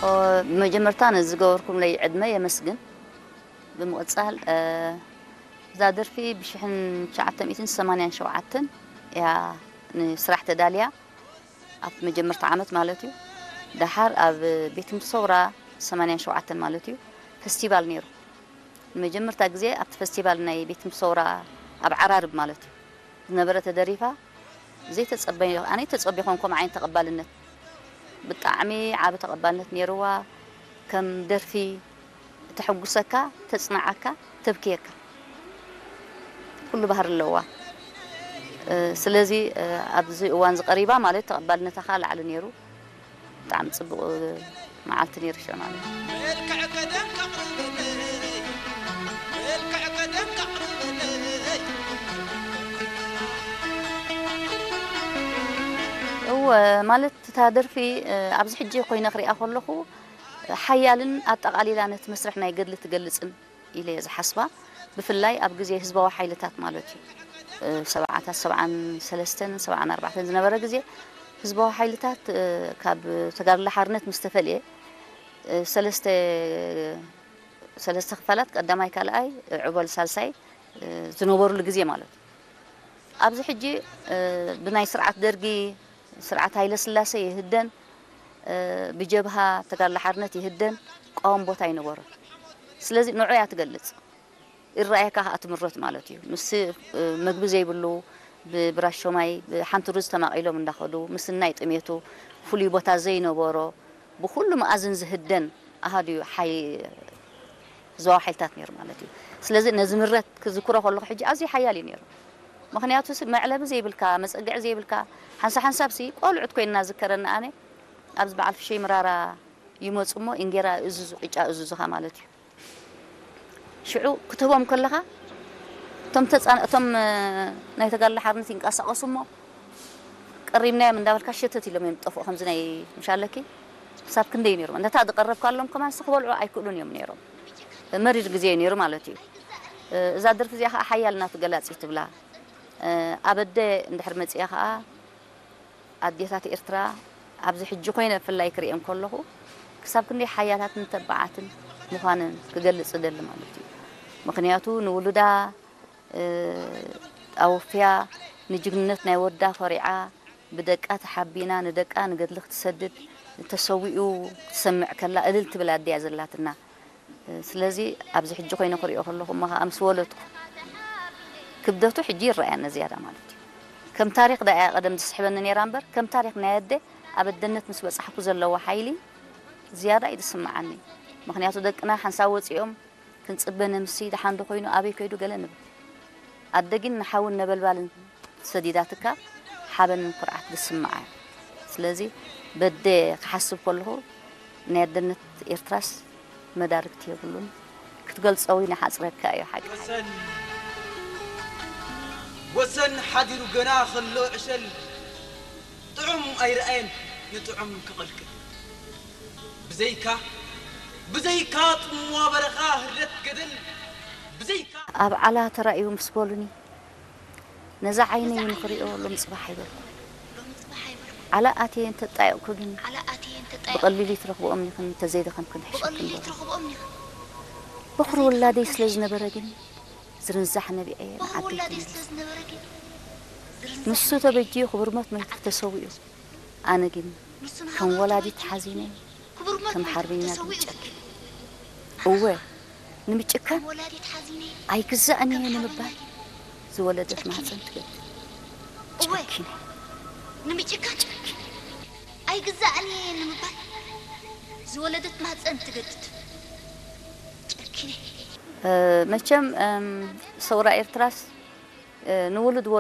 ብመጀመርታ ነዚ ዝገበርኩምለይ ዕድመ የመስግን። ብምቕጻል እዛ ደርፊ ብሽሕን ትሽዓተ ሚእትን ሰማንያን ሸውዓተን እያ ንስራሕ ተዳልያ፣ ኣብቲ መጀመርታ ዓመት ማለት እዩ። ደሓር ኣብ ቤት ትምህርቲ ሰውራ ሰማንያን ሸውዓተን ማለት እዩ፣ ፈስቲቫል ነይሩ። ንመጀመርታ ግዜ ኣብቲ ፈስቲቫል ናይ ቤት ትምህርቲ ሰውራ ኣብ ዓራርብ ማለት እዩ ዝነበረ ተደሪፋ። ዘይተጸበዮ ኣነ ተጸቢኾም ከምኡ ዓይነት ተቐባልነት፣ ብጣዕሚ ዓቢ ተቐባልነት ነይርዋ። ከም ደርፊ ተሐጉሰካ፣ ተጽናዓካ፣ ተብክየካ፣ ኩሉ ባህሪ ኣለዋ። ስለዚ ኣብዚ እዋን ዝቐሪባ ማለት ተቐባልነታ ከዓ ላዕሊ ነይሩ። ብጣዕሚ ጽቡቕ መዓልቲ ነይሩ ሽዑ ማለት እዩ። እወ፣ ማለት እታ ደርፊ ኣብዚ ሕጂ ኮይነ ክሪኣ ከለኹ ሓያልን ኣጠቓሊላ ነቲ መስርሕ ናይ ገድሊ ትገልጽን ኢለ እየ ዝሓስባ። ብፍላይ ኣብ ግዜ ህዝባዊ ሓይልታት ማለት እዩ፣ ሰብዓታት፣ ሰብዓን ሰለስተን ሰብዓን ኣርባዕተን ዝነበረ ግዜ ህዝባዊ ሓይልታት ካብ ተጋድሎ ሓርነት ምስ ተፈልየ ሰለስተ ሰለስተ ክፋላት፣ ቀዳማይ፣ ካልኣይ፣ ዕበል ሳልሳይ ዝነበሩሉ ግዜ ማለት እዩ። ኣብዚ ሕጂ ብናይ ስርዓት ደርጊ፣ ስርዓት ሃይለ ስላሴ ይህደን፣ ብጀብሃ ተጋድሎ ሓርነት ይህደን፣ ቀዋም ቦታ ኣይነበሮን። ስለዚ ንዑ እያ ትገልጽ። ይረኣየካ ከኣ ትምረት ማለት እዩ። ምስ መግቢ ዘይብሉ፣ ብብራሾማይ ብሓንቲ ሩዝ ተማቒሎም እንዳኸዱ፣ ምስናይ ጥሜቱ ፍሉይ ቦታ ዘይነበሮ፣ ብኹሉ መኣዝን ዝህደን ኣሃዱ እዩ ሓይ-፣ ህዝባዊ ሓይልታት ነይሩ ማለት እዩ። ስለዚ ነዚ ምረት ክዝክሮ ከለኹ ሕጂ ኣዝዩ ሓያል እዩ ነይሩ። ምኽንያቱ ሲ መዕለቢ ዘይብልካ፣ መጸግዒ ዘይብልካ፣ ሓንሳብ ሓንሳብ ሲ ቆልዑት ኮይንና ዝከረኒ ኣነ፣ ኣብዚ በዓል ፍሸይ ምራራ ይመጹ እሞ እንጌራ እዙዙ፣ ቅጫ እዙዙኻ ማለት እዩ። ሽዑ ክትህቦም ከለኻ እቶም ተጻን-፣ እቶም ናይ ተጋድሎ ሓርነት ይንቀሳቐሱ እሞ ቀሪብናዮም እንዳበልካ ሸተት ኢሎም እዮም ዝጠፍኡ። ከምዚ ናይ ምሻለኪ ክሳብ ክንደይ ነይሮም። ነታ ዝቐረብካሎም ከማን ክበልዑ ኣይክእሉን እዮም ነይሮም። መሪር ግዜ እዩ ነይሩ ማለት እዩ። እዛ ደርፊ እዚኣ ከዓ ሓያል ናቱ ገላጺ ትብላ። ኣብ ኣደ እንድሕር መጺኣ ከዓ ኣዴታት ኤርትራ ኣብዚ ሕጂ ኮይነ ብፍላይ ክርእየን ከለኹ ክሳብ ክንደይ ሓያላትን ተባዓትን ምዃነን ክገልጽ እደሊ ማለት እዩ። ምኽንያቱ ንውሉዳ ኣወፍያ፣ ንጅግንነት ናይ ወዳ ኮሪዓ፣ ብደቃ ተሓቢና ንደቃ ንገድሊ ክትሰድድ፣ ተሰዊኡ ክትሰምዕ ከላ እልል ትብል ኣደ እያ ዘላትና። ስለዚ ኣብዚ ሕጂ ኮይነ ክሪኦ ከለኹ እሞ ከኣ ምስ ወለድኩ ክብደቱ ሕጂ ይረኣየኒ ዝያዳ ማለት እዩ። ከም ታሪኽ ደኣ እያ ቀደም ዝስሕበኒ ነይራ እምበር ከም ታሪኽ ናይ ኣደ ኣብ ኣደነት ምስ በጻሕኩ ዘለዋ ሓይሊ ዝያዳ እዩ ዝስምዓኒ። ምኽንያቱ ደቅና ሓንሳብ ወጺኦም ክንጽበ ነምሲ ደሓን ዶ ኮይኑ ኣበይ ከይዱ ገለ ንብል። ኣደ ግን ንሓውን ነበልባልን ሰዲዳትካ ሓበንን ኩርዓት ዝስምዓ እያ። ስለዚ በደ ክሓስብ ከለኹ ናይ ኣደነት ኤርትራስ መዳርግቲ የብሉን። ክትገልጾ እውን ይሓጽረካ እዩ ሓቂ። ወሰን፣ ወሰን ሓዲሩ ገና ከሎ ዕሸል ጥዑም ኣይረኣየን ንጥዑም ክቐልቅል። ብዘይካ፣ ብዘይካ ጽምዋ በረኻ ህርደት ገደል፣ ብዘይካ ኣብ ዓላ ተራእዩ ምስ በሉኒ፣ ነዛ ዓይነይ ንኽሪኦ ሎም ጽባሕ ኣይበልኩ። ዓላ ኣትየ እንተጣየቕኩ ግን ብቐሊሉ ትረኽብኦም ኢኽን፣ እንተዘይደኸምክን ሕሸክን በሉ። በኹሪ ወላደይ ስለ ዝነበረ ግን ዝርንዛሕ ነቢዐ ንዓደይ ተመሊሰ። ንሱ ተበጅዩ ክቡር ሞት መይቱ ተሰዊኡ። ኣነ ግን ከም ወላዲት ሓዚነ፣ ከም ሓርበኛ ግን ጨኪነ። እወ፣ ንምጭካን ኣይግዛእን እየ ንምባል ዝወለደት ማህፀን ትገድድ። ጨኪነ። ንምጭካን ጨኪነ። ኣይግዛእን እየ ንምባል ዝወለደት ማህፀን ትገድድ። ጨኪነ። እ፣ መቸም፣ እም፣ ሰውራ ኤርትራስ፣ እ፣ ንውሉድ